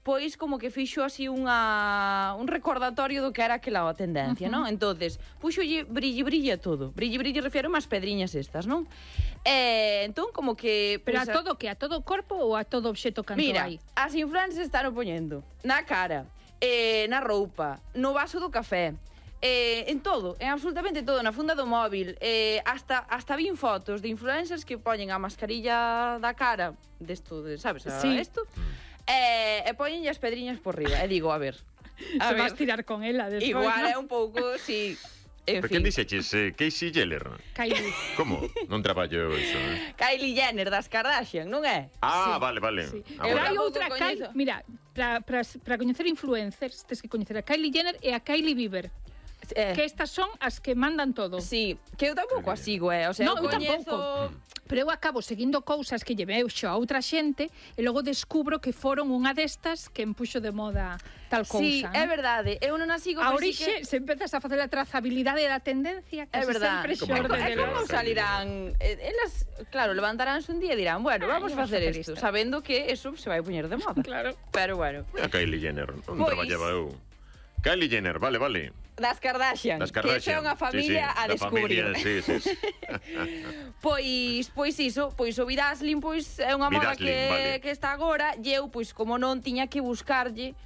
pois como que fixo así un recordatorio do que era aquela tendencia, non? Entonces, puxolle brilli todo. Brilli refiero as pedriñas estas, non? Entón, como que... Pero a todo que? A todo o corpo ou a todo obxeto canto mira, hai? as influencers están poñendo na cara, na roupa, no vaso do café, en todo, en absolutamente todo, na funda do móvil, hasta vin fotos de influencers que poñen a mascarilla da cara desto, sabes, isto? E poñenlle as pedriñas por riba. E digo, a ver, vas tirar con ela despois, igual ¿no? é un pouco, sí. Pero quen dixeches? Casey Jenner? Kylie. Como? Non traballo iso, Kylie Jenner das Kardashian, non é? Vale. Sí. Agora. Hai tampouco outra coñezo. Mira, para coñecer influencers tens que coñecer a Kylie Jenner e a Kylie Bieber. Que estas son as que mandan todo. Sí, que eu tampouco a sigo, o sea, No, eu tampouco. Pero eu acabo seguindo cousas que lle vexo a outra xente e logo descubro que foron unha destas que empuxo de moda tal cousa. Sí, é verdade, eu non a sigo, A pero orixe, se empezas a facer a trazabilidade da tendencia, é casi verdade. sempre xorde É de como salirán, elas, claro, levantaránse un día e dirán, bueno, vamos a facer isto, sabendo que eso se vai poñer de moda. Claro. Pero bueno. A Kylie Jenner, non Pois. traballaba eu. Kylie Jenner, vale. Das Kardashian, que é unha familia a descubrir. Sí. Pois iso, pois o Bedazzling pois é unha moda Bedazzling, vale. que está agora, e eu pois como non tiña que buscarlle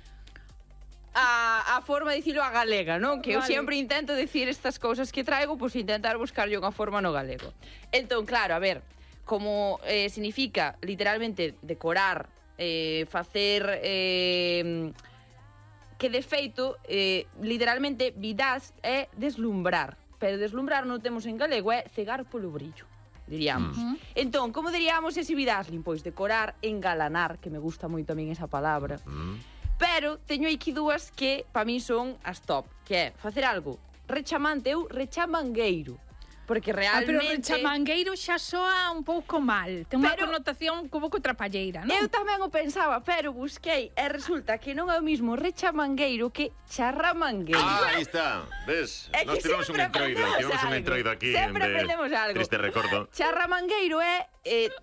a forma de dicilo a galega, non? Que eu sempre intento decir estas cousas que traigo, pois intentar buscarlle unha forma no galego. Entón, claro, a ver, como significa literalmente decorar, facer que de feito, literalmente, vidaz é deslumbrar. Pero deslumbrar non temos en galego, é cegar polo brillo, diríamos. Entón, como diríamos ese Bedazzling? Pois decorar, engalanar, que me gusta moito a min esa palabra. Pero teño aquí dúas que, para mí, son as top, que é facer algo rechamante, eu rechamangueiro. Porque realmente... pero rechamangueiro xa soa un pouco mal. Ten unha connotación un pouco trapalleira, non? Eu tamén o pensaba, pero busquei e resulta que non é o mismo rechamangueiro que charramangueiro. Aí está, ves? É que Nos tivemos un entroido aquí. Sempre aprendemos algo. Triste recordo. Charramangueiro é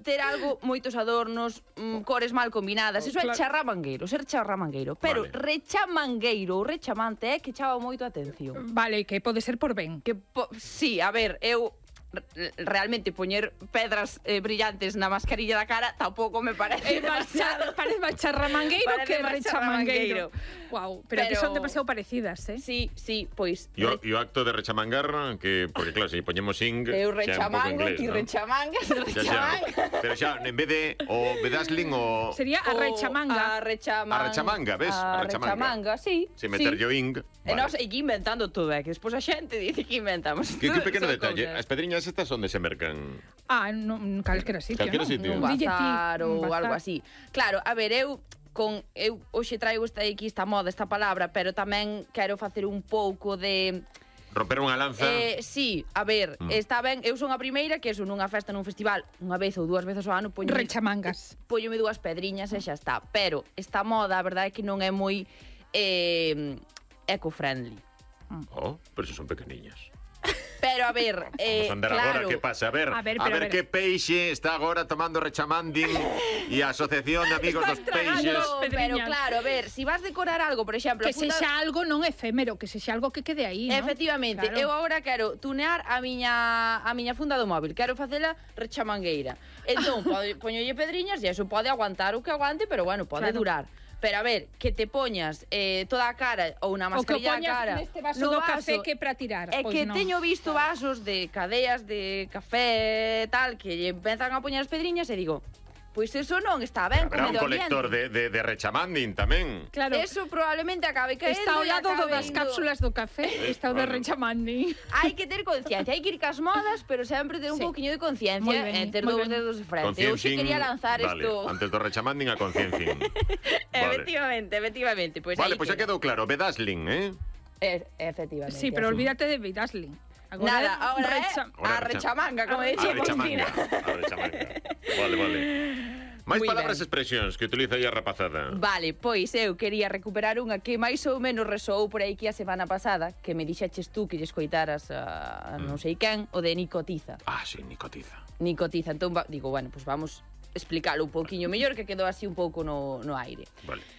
ter algo, moitos adornos, cores mal combinadas. Eso é charramangueiro, ser charramangueiro. Pero rechamangueiro ou rechamante é que chama moito a atención. Vale, que pode ser por ben. Sí, a ver, eu realmente poñer pedras brillantes na mascarilla da cara tampouco me parece demasiado. Parece máis charramangueiro que rechamangueiro. Wow, pero que son demasiado parecidas, Sí, pois. E o acto de rechamangar, que porque claro, se poñemos ing, eu rechamango, ti rechamangas, pero xa, en vez de o Bedazzling o... Sería a rechamanga. A rechamanga, ves? A rechamanga, sí. Se meterlle o ing. E nós aquí inventando todo, que despois a xente dice que inventamos. Que pequeno detalle, as pedriñas estas onde se mercan? Calquera sitio, un bazar ou algo así. Claro, a ver, eu hoxe traigo esta moda, esta palabra, pero tamén quero facer un pouco de... Romper unha lanza? Sí, a ver, está ben, eu son a primeira que nunha festa, nun festival, unha vez ou dúas veces ao ano, rechamangas. Póñome dúas pedriñas e xa está. Pero esta moda, a verdade é que non é moi eco-friendly. Pero se son pequeniñas. Pero a ver, vamos andar claro. Agora que pasa, a ver que peixe está agora tomando rechamanding e a Asociación de Amigos dos Peixes. Pero claro, a ver, si vas decorar algo, por exemplo, que sexa algo non efémero, que sexa algo que quede aí, non? Efectivamente, eu agora quero tunear a miña funda do móvil, quero facela rechamangueira. Entón, poñolle pedriñas e eso pode aguantar o que aguante, pero bueno, pode durar. Pero a ver, que te poñas toda a cara ou unha mascarilla a cara neste vaso do café que para tirar. É que teño visto vasos de cadeas de café tal que lle empezan a poñer as pedriñas e digo, pois eso non está ben co medio ambiente. Habrá un colector de rechamanding tamén. Claro. Eso probablemente acabe caendo. Está ao lado das cápsulas do café, está o de rechamanding. Hai que ter conciencia, hai que ir cas modas, pero sempre ter un pouquiño de conciencia e ter dous dedos de frente. Eu xe quería lanzar isto. Antes do rechamanding a conciencia. Efectivamente. Vale, pois xa quedou claro, Bedazzling, Efectivamente. Sí, pero olvídate de Bedazzling. Agora a rechamanga, como dicía Cristina. A rechamanga. Vale. Máis palabras e expresións que utiliza aí a rapazada. Vale, pois eu quería recuperar unha que máis ou menos resoou por aí que a semana pasada, que me dixeches tú que lle escoitaras a non sei quen, o de nicotiza. Sí, nicotiza. Nicotiza, entón digo, bueno, pois vamos explicarlo un pouquiño mellor, que quedou así un pouco no aire. Vale.